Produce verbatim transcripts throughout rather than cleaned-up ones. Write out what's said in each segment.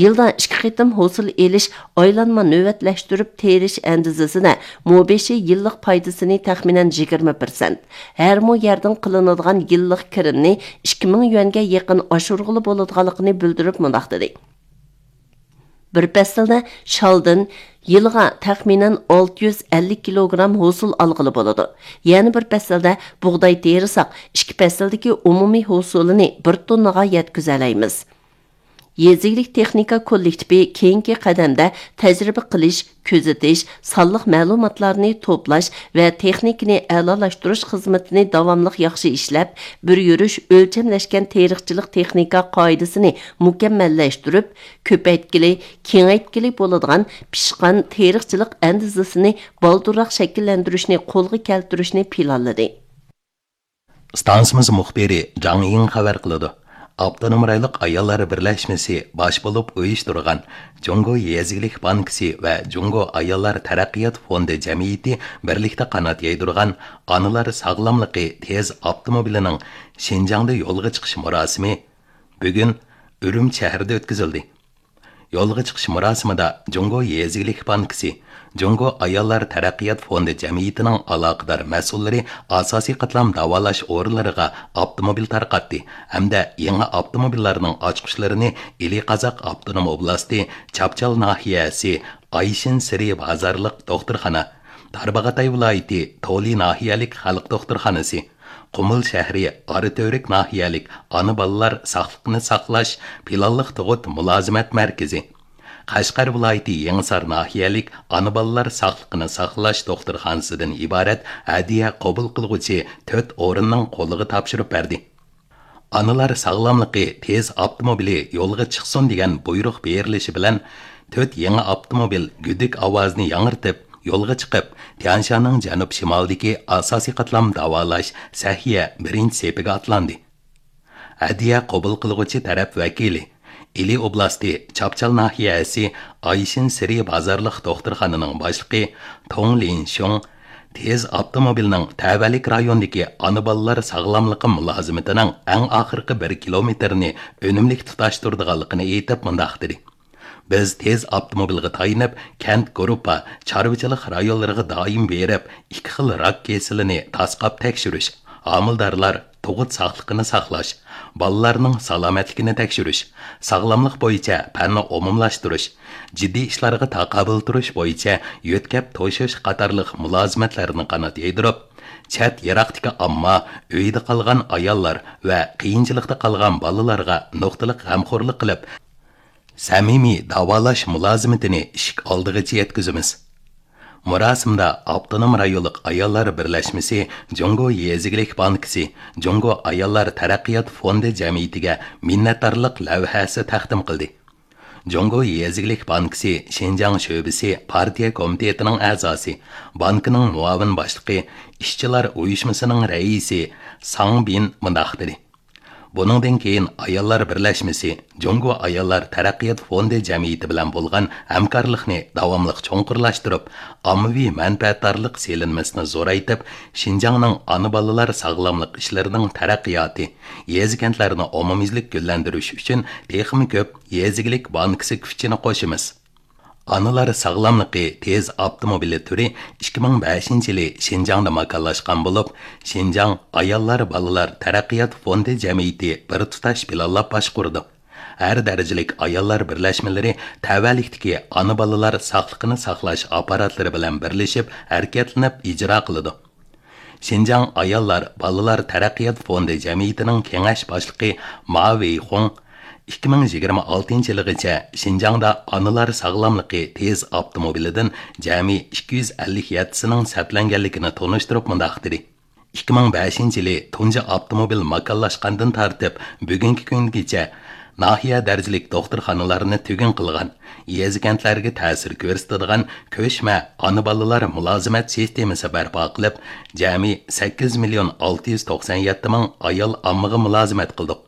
يىلدا ئىككى قېتىم ھوسۇل ئېلىش، ئايلانما نۆۋەتلەشتۈرۈپ تېرىش ئەندىزىسىدە مو بېشى يىللىق پايدىسىنى تەخمىنەن يىگىرمە پىرسەنت، ھەر مو يەردىن قىلىنىدىغان يىللىق كىرىمنى ئىككى مىڭ يۈەنگە يېقىن ئاشۇرغىلى بولىدىغانلىقىنى بىلدۈرۈپ مۇنداق دېدى: بىر پەسىلدە شالدىن يىلىغا تەخمىنەن ئالتە يۈز ئەللىك كىلوگرام ھوسۇل ئالغىلى بولىدۇ. يەنە بىر پەسىلدە بۇغداي تېرىساق، ئىككى پەسىلدىكى ئومۇمىي ھوسۇلىنى بىر توننىغا يەتكۈزەلەيمىز. يېزا ئىگىلىك تېخنىكا كوللېكتىپى كېيىنكى قەدەمدە تەجرىبە قىلىش، كۆزىتىش، سانلىق مەلۇماتلارنى توپلاش ۋە تېخنىكىنى ئەلالاشتۇرۇش خىزمىتىنى داۋاملىق ياخشى ئىشلەپ، بىر يۈرۈش ئۆلچەملەشكەن تېرىقچىلىق تېخنىكا قائىدىسىنى مۇكەممەللەشتۈرۈپ، كۆپەيتكىلى، كېڭەيتكىلى بولىدىغان پىشقان تېرىقچىلىق ئەندىزىسىنى بالدۇرراق شەكىللەندۈرۈشنى قولغا كەلتۈرۈشنى پىلانلىدى. ئىستانسىمىز مۇخبىرى جاڭ يىڭ خەۋەر قىلىدۇ. ئاپتونوم رايونلۇق ئاياللار بىرلەشمىسى باش بولۇپ ئۇيۇشتۇرغان جۇڭگو يېزا ئىگىلىك بانكىسى ۋە جۇڭگو ئاياللار تەرەققىيات فوندى جەمئىيىتى بىرلىكتە قانات يايدۇرغان ئانىلار ساغلاملىقى تېز ئاپتوموبىلىنىڭ شىنجاڭدا يولغا چىقىش مۇراسىمى بۈگۈن ئۈرۈمچى شەھىرىدە ئۆتكۈزۈلدى. يولغا چىقىش مۇراسىمىدا جۇڭگو يېزا ئىگىلىك بانكىسى، جۇڭگو ئاياللار تەرەققىيات فوندى جەمئىيىتىنىڭ ئالاقىدار مەسئۇللىرى ئاساسىي قاتلام داۋالاش ئورۇنلىرىغا ئاپتوموبىل تارقاتتى ھەمدە يېڭى ئاپتوموبىللارنىڭ ئاچقۇچلىرىنى ئىلى قازاق ئاپتونوم ئوبلاستى چاپچال ناھىيەسى ئايشىن سىرى بازارلىق دوختۇرخانا، تارباغاتاي ۋىلايىتى تولى ناھىيەلىك خەلق دوختۇرخانىسى، قۇمۇل شەھىرى ئاراتۈرۈك ناھىيەلىك ئانا بالىلار ساقلىقىنى ساقلاش پىلانلىق تۇغۇت مۇلازىمەت مەركىزى، قەشقەر ۋىلايىتى يېڭىسار ناھىيەلىك ئانا بالىلار ساقلىقىنى ساقلاش دوختۇرخانىسىدىن ئىبارەت ھەدىيە قوبۇل قىلغۇچى تۆت ئورۇننىڭ قولىغا تاپشۇرۇپ بەردى. ئانىلار ساغلاملىقى تېز ئاپتوموبىلى يولغا چىقسۇن دېگەن بۇيرۇق بېرىلىشى بىلەن، تۆت يېڭى ئاپتوموبىل گۈدۈك ئاۋازىنى ياڭرىتىپ، يولغا چىقىپ، تيانشاننىڭ جەنۇب شىمالىدىكى ئاساسىي قاتلام داۋالاش سەھىيە بىرىنچى سېپىگە ئاتلاندى. ھەدىيە قوبۇل قىلغۇچى تەرەپ ۋەكىلى، ئىلى ئوبلاستى چاپچال ناھىيەسى ئايشىن سىرى بازارلىق دوختۇرخانىنىڭ باشلىقى توڭ لىنشۇڭ تېز ئاپتوموبىلنىڭ تەۋەلىك رايوندىكى ئانا بالىلار ساغلاملىقى مۇلازىمىتىنىڭ ئەڭ ئاخىرقى بىر كىلومېتىرىنى ئۈنۈملۈك تۇتاشتۇرىدىغانلىقىنى ئېيتىپ مۇنداق دېدى: بىز تېز ئاپتوموبىلغا تايىنىپ، كەنت گۇرۇپپا، چارۋىچىلىق رايونلىرىغا دائىم بېرىپ، ئىككى خىل راك كېسىلىنى تاسقاپ تەكشۈرۈش، ھامىلىدارلار، تۇغۇت ساقلىقىنى ساقلاش، بالىلارنىڭ سالامەتلىكىنى تەكشۈرۈش، ساغلاملىق بويىچە پەننى ئومۇملاشتۇرۇش، جىددىي ئىشلارغا تاقابىل تۇرۇش بويىچە يۆتكەپ توشۇش قاتارلىق مۇلازىمەتلەرنى قانات يايدۇرۇپ، چەت يىراقتىكى ئامما، ئۆيدە قالغان ئاياللار ۋە قىيىنچىلىقتا قالغان بالىلارغا نۇقتىلىق غەمخورلۇق قىلىپ، سەمىمىي داۋالاش مۇلازىمىتىنى ئىشىك ئالدىغىچە يەتكۈزىمىز. مۇراسىمدا ئاپتونوم رايونلۇق ئاياللار بىرلەشمىسى جۇڭگو يېزا ئىگىلىك بانكىسى جۇڭگو ئاياللار تەرەققىيات فوندى جەمئىيىتىگە مىننەتدارلىق لەۋھەسى تەقدىم قىلدى. جۇڭگو يېزا ئىگىلىك بانكىسى شىنجاڭ شۆبىسى پارتىيە كومىتېتىنىڭ ئەزاسى، بانكىنىڭ مۇئاۋىن باشلىقى، ئىشچىلار ئۇيۇشمىسىنىڭ رەئىسى ساڭ بىن مۇنداق دېدى: بۇنىڭدىن كېيىن ئاياللار بىرلەشمىسى جۇڭگو ئاياللار تەرەققىيات فوندى جەمئىيىتى بىلەن بولغان ھەمكارلىقنى داۋاملىق چوڭقۇرلاشتۇرۇپ، ئاممىۋى مەنپەئەتدارلىق سېلىنمىسىنى زورايتىپ، شىنجاڭنىڭ ئانا بالىلار ساغلاملىق ئىشلىرىنىڭ تەرەققىياتى، يېزا كەنتلەرنى ئومۇميۈزلۈك گۈللەندۈرۈش ئۈچۈن تېخىمۇ كۆپ يېزا ئىگىلىك بانكىسى كۈچىنى قوشىمىز. ئانىلار ساغلاملىقى تېز ئاپتوموبىلى تۈرى ئىككى مىڭ بەشىنچى يىلى شىنجاڭدا ماكانلاشقان بولۇپ، شىنجاڭ ئاياللار بالىلار تەرەققىيات فوندى جەمئىيىتى بىر تۇتاش پىلانلاپ باشقۇرىدۇ. ھەر دەرىجىلىك ئاياللار بىرلەشمىلىرى تەۋەلىكتىكى ئانا بالىلار ساقلىقىنى ساقلاش ئاپپاراتلىرى بىلەن بىرلىشىپ ھەرىكەتلىنىپ ئىجرا قىلىدۇ. شىنجاڭ ئاياللار بالىلار تەرەققىيات فوندى جەمئىيىتىنىڭ كېڭەش باشلىقى ما ۋېيخۇڭ ئىككى مىڭ يىگىرمە ئالتىنچى يىلىغىچە شىنجاڭدا ئانىلار ساغلاملىقى تېز ئاپتوموبىلىدىن جەمئىي ئىككى يۈز ئەللىك يەتتىسىنىڭ سەپلەنگەنلىكىنى تونۇشتۇرۇپ مۇنداق دېدى: ئىككى مىڭ بەشىنچى يىلى تۇنجى ئاپتوموبىل ماكانلاشقاندىن تارتىپ بۈگۈنكى كۈنگىچە ناھىيە دەرىجىلىك دوختۇرخانىلارنى تۈگۈن قىلغان، يېزا كەنتلەرگە تەسىر كۆرسىتىدىغان كۆچمە ئانا بالىلار مۇلازىمەت سىستېمىسى بەرپا قىلىپ، جەمئىي سەككىز مىليون ئالتە يۈز توقسان يەتتە مىڭ ئايال ئاممىغا مۇلازىمەت قىلدۇق.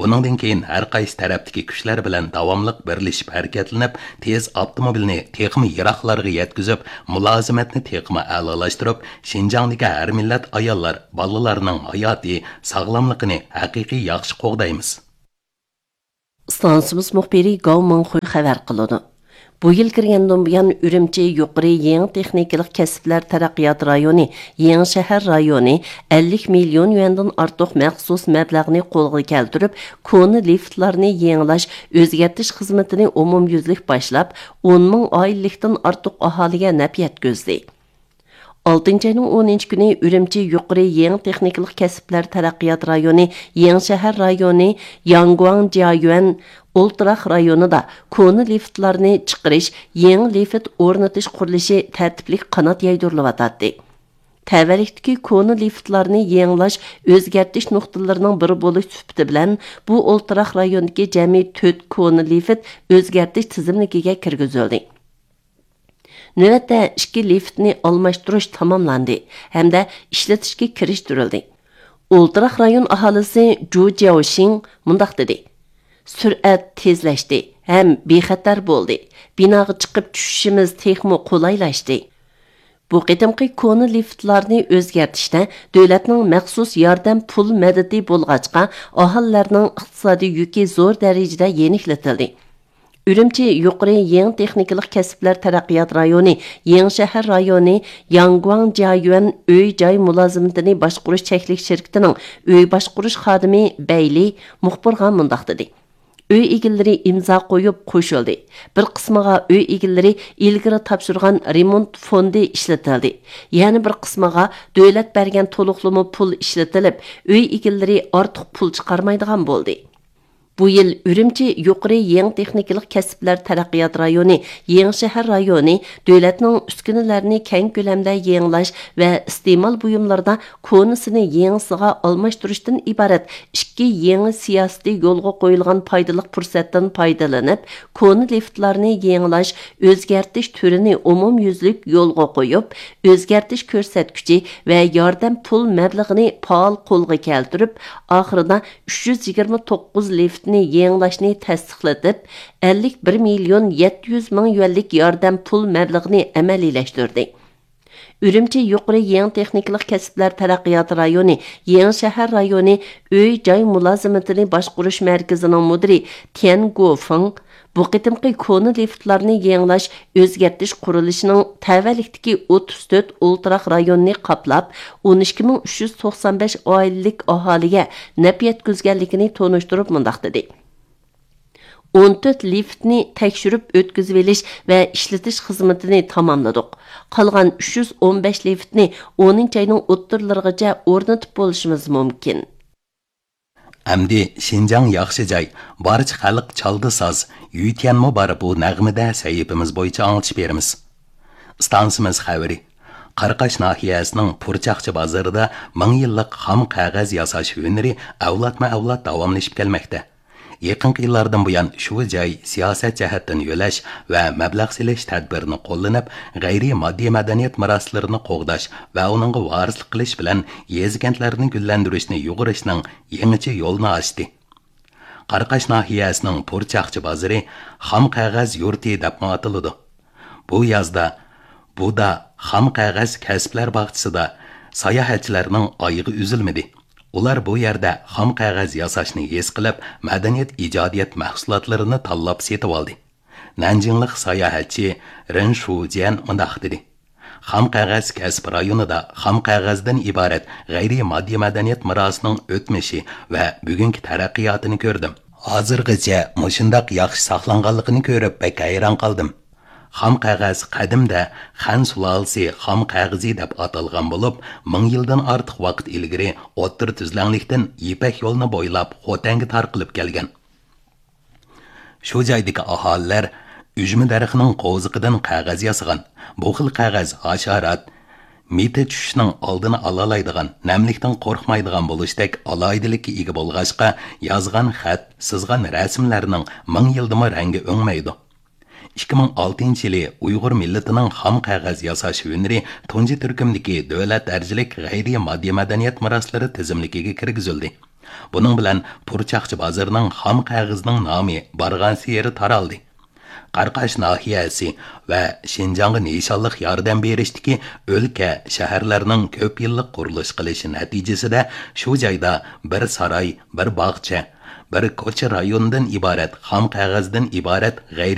بۇنىڭدىن كېيىن ھەر قايسى تەرەپتىكى كۈچلەر بىلەن داۋاملىق بىرلىشىپ ھەرىكەتلىنىپ، تېز ئاپتوموبىلنى تېخىمۇ يىراقلارغا يەتكۈزۈپ، مۇلازىمەتنى تېخىمۇ ئەلالاشتۇرۇپ، شىنجاڭدىكى ھەر مىللەت ئاياللار، بالىلارنىڭ ھاياتى، ساغلاملىقىنى ھەقىقىي ياخشى قوغدايمىز. ئىستانسىمىز مۇخبىرى گاۋ مىڭخۇي خەۋەر قىلىدۇ. بۇ يىل كىرگەندىن بۇيان، ئۈرۈمچى يۇقىرى يېڭى تېخنىكىلىق كەسىپلەر تەرەققىيات رايونى، يېڭى شەھەر رايونى ئەللىك مىليون يۈەندىن ئارتۇق مەخسۇس مەبلەغنى قولغا كەلتۈرۈپ، كونا لىفتلارنى يېڭىلاش، ئۆزگەرتىش خىزمىتىنى ئومۇميۈزلۈك باشلاپ، ئون مىڭ ئائىلىلىكتىن ئارتۇق ئاھالىگە نەپ يەتكۈزدى. ئالتىنچى ئاينىڭ ئونىنچى كۈنى ئۈرۈمچى يۇقىرى يېڭى تېخنىكىلىق كەسىپلەر تەرەققىيات رايونى، يېڭى شەھەر رايونى، ياڭگۇاڭ جيايۈەن ئولتۇراق رايونىدا كونا لىفتلارنى چىقىرىش، يېڭى لىفت ئورنىتىش قۇرۇلۇشى تەرتىپلىك قانات يايدۇرۇلۇۋاتاتتى. تەۋەلىكتىكى كونا لىفتلارنى يېڭىلاش، ئۆزگەرتىش نۇقتىلىرىنىڭ بىرى بولۇش سۈپىتى بىلەن، بۇ ئولتۇراق رايوندىكى جەمئىي تۆت كونا لىفت ئۆزگەرتىش تىزىملىكىگە كىرگۈزۈلدى. نۆۋەتتە ئىككى لىفتنى ئالماشتۇرۇش تاماملاندى ھەمدە ئىشلىتىشكە كىرىشتۈرۈلدى. ئولتۇراق رايون ئاھالىسى جۇ جياۋشىڭ مۇنداق دېدى: «سۈرئەت تېزلەشتى ھەم بىخەتەر بولدى. بىناغا چىقىپ چۈشۈشىمىز تېخىمۇ قولايلاشتى.» بۇ قېتىمقى كونا لىفتلارنى ئۆزگەرتىشتە دۆلەتنىڭ مەخسۇس ياردەم پۇل مەدىتى بولغاچقا، ئاھالىلەرنىڭ ئىقتىسادىي يۈكى زور دەرىجىدە يېنىكلىتىلدى. ئۈرۈمچى يۇقىرى يېڭى تېخنىكىلىق كەسىپلەر تەرەققىيات رايونى، يېڭى شەھەر رايونى ياڭگۇاڭ جيايۈەن ئۆي جاي مۇلازىمىتىنى باشقۇرۇش چەكلىك شىركىتىنىڭ ئۆي باشقۇرۇش خادىمى بەيلى مۇخبىرغا مۇنداق دېدى: «ئۆي ئىگىلىرى ئىمزا قويۇپ قوشۇلدى. بىر قىسمىغا ئۆي ئىگىلىرى ئىلگىرى تاپشۇرغان رېمونت فوندى ئىشلىتىلدى. يەنە بىر قىسمىغا دۆلەت بەرگەن تولۇقلىما پۇل ئىشلىتىلىپ، ئۆي ئىگىلىرى ئارتۇق پۇل چىقارمايدىغان بولدى.» بۇ يىل ئۈرۈمچى يۇقىرى يېڭى تېخنىكىلىق كەسىپلەر تەرەققىيات رايونى، يېڭى شەھەر رايونى دۆلەتنىڭ ئۈسكۈنىلەرنى كەڭ كۆلەمدە يېڭىلاش ۋە ئىستېمال بۇيۇملىرىدا كونىسىنى يېڭىسىغا ئالماشتۇرۇشتىن ئىبارەت ئىككى يېڭى سىياسىتى يولغا قويۇلغان پايدىلىق پۇرسەتتىن پايدىلىنىپ، كونا لىفتلارنى يېڭىلاش، ئۆزگەرتىش تۈرىنى ئومۇميۈزلۈك يولغا قويۇپ، ئۆزگەرتىش كۆرسەتكۈچى ۋە ياردەم پۇل مەبلىغىنى پائال قولغا كەلتۈرۈپ، ئاخىرىدا ئۈچ يۈز يىگىرمە توققۇز لىفتنى يېڭىلاشنى تەستىقلىتىپ، ئەللىك بىر مىليون يەتتە يۈز مىڭ يۈەنلىك ياردەم پۇل مەبلىغىنى ئەمەلىيلەشتۈردى. ئۈرۈمچى يۇقىرى يېڭى تېخنىكىلىق كەسىپلەر تەرەققىيات رايونى، يېڭى شەھەر رايونى ئۆي جاي مۇلازىمىتىنى باشقۇرۇش مەركىزىنىڭ مۇدىرى تيەن گوفېڭ بۇ قېتىمقى كونا لىفتلارنى يېڭىلاش، ئۆزگەرتىش قۇرۇلۇشىنىڭ تەۋەلىكتىكى ئوتتۇز تۆت ئولتۇراق رايوننى قاپلاپ، ئون ئىككى مىڭ ئۈچ يۈز توقسان بەش ئائىلىلىك ئاھالىگە نەپ يەتكۈزگەنلىكىنى تونۇشتۇرۇپ مۇنداق دېدى: «ئون تۆت لىفتنى تەكشۈرۈپ ئۆتكۈزۈۋېلىش ۋە ئىشلىتىش خىزمىتىنى تاماملىدۇق. قالغان ئۈچ يۈز ئون بەش لىفتنى ئونىنچى ئاينىڭ ئوتتۇرىلىرىغىچە ئورنىتىپ بولۇشىمىز مۇمكىن.» ئەمدى شىنجاڭ ياخشى جاي، بارچە خەلق چالدى ساز، يۈتيەنمۇ بار بۇ نەغمىدە سەھىپىمىز بويىچە ئاڭلىتىش بېرىمىز. ئىستانسىمىز خەۋىرى. قاراقاش ناھىيەسىنىڭ پۇرچاقچى بازىرىدا مىڭ يىللىق خام قەغەز ياساش ھۈنىرى ئەۋلادمۇ ئەۋلاد داۋاملىشىپ كەلمەكتە. يېقىنقى يىللاردىن بۇيان شۇ جاي سىياسەت جەھەتتىن يۆلەش ۋە مەبلەغ سېلىش تەدبىرىنى قوللىنىپ، غەيرىي ماددىي مەدەنىيەت مىراسلىرىنى قوغداش ۋە ئۇنىڭغا ۋارىسلىق قىلىش بىلەن يېزا-كەنتلەرنى گۈللەندۈرۈشنى يۇغۇرۇشنىڭ يېڭىچە يولىنى ئاچتى. قاراقاش ناھىيەسىنىڭ پۇرچاقچى بازىرى خام قەغەز يۇرتى دەپمۇ ئاتىلىدۇ. بۇ يازدا بۇدا خام قەغەز كەسىپلەر باغچىسىدا ساياھەتچىلەرنىڭ ئايىغى ئۈزۈلمىدى. ئۇلار بۇ يەردە خام قەغەز ياساشنى ھېس قىلىپ، مەدەنىيەت ئىجادىيەت مەھسۇلاتلىرىنى تاللاپ سېتىۋالدى. نەنجىڭلىق ساياھەتچى رېن شۇجيەن مۇنداق دېدى: «خام قەغەز كەسىپ رايونىدا خام قەغەزدىن ئىبارەت غەيرىي ماددىي مەدەنىيەت مىراسىنىڭ ئۆتمۈشى ۋە بۈگۈنكى تەرەققىياتىنى كۆردۈم. ھازىرغىچە مۇشۇنداق ياخشى ساقلانغانلىقىنى كۆرۈپ بەك ھەيران قالدىم.» خام قەغەز قەدىمدە خەن سۇلالىسى خام قەغىزى دەپ ئاتالغان بولۇپ، مىڭ يىلدىن ئارتۇق ۋاقىت ئىلگىرى ئوتتۇرا تۈزلەڭلىكتىن يىپەك يولىنى بويلاپ خوتەنگە تارقىلىپ كەلگەن. شۇ جايدىكى ئاھالىلەر ئۈجمە دەرىخىنىڭ قوۋزىقىدىن قەغەز ياسىغان. بۇ خىل قەغەز ھاشارات، مىتى چۈشۈشنىڭ ئالدىنى ئالالايدىغان، نەملىكتىن قورقمايدىغان بولۇشتەك ئالاھىدىلىككە ئىگە بولغاچقا، يازغان خەت، سىزغان رەسىملەرنىڭ مىڭ يىلدىمۇ رەڭگى ئۆڭمەيدۇ. ئىككى مىڭ ئالتىنچى يىلى ئۇيغۇر مىللىتىنىڭ خام قەغەز ياساش ھۈنىرى تۇنجى تۈركۈمدىكى دۆلەت دەرىجىلىك غەيرىي ماددىي مەدەنىيەت مىراسلىرى تىزىملىكىگە كىرگۈزۈلدى. بۇنىڭ بىلەن پۇرچاقچى بازىرىنىڭ خام قەغىزىنىڭ نامى بارغانسېرى تارالدى. قاراقاش ناھىيەسى ۋە شىنجاڭغا نىشانلىق ياردەم بېرىشتىكى ئۆلكە، شەھەرلەرنىڭ كۆپ يىللىق قۇرۇلۇش قىلىشى نەتىجىسىدە شۇ جايدا بىر ساراي، بىر باغچە، بىر كوچا رايوندىن ئىبارەت خام قەغەزدىن ئىبارەت غەيرىي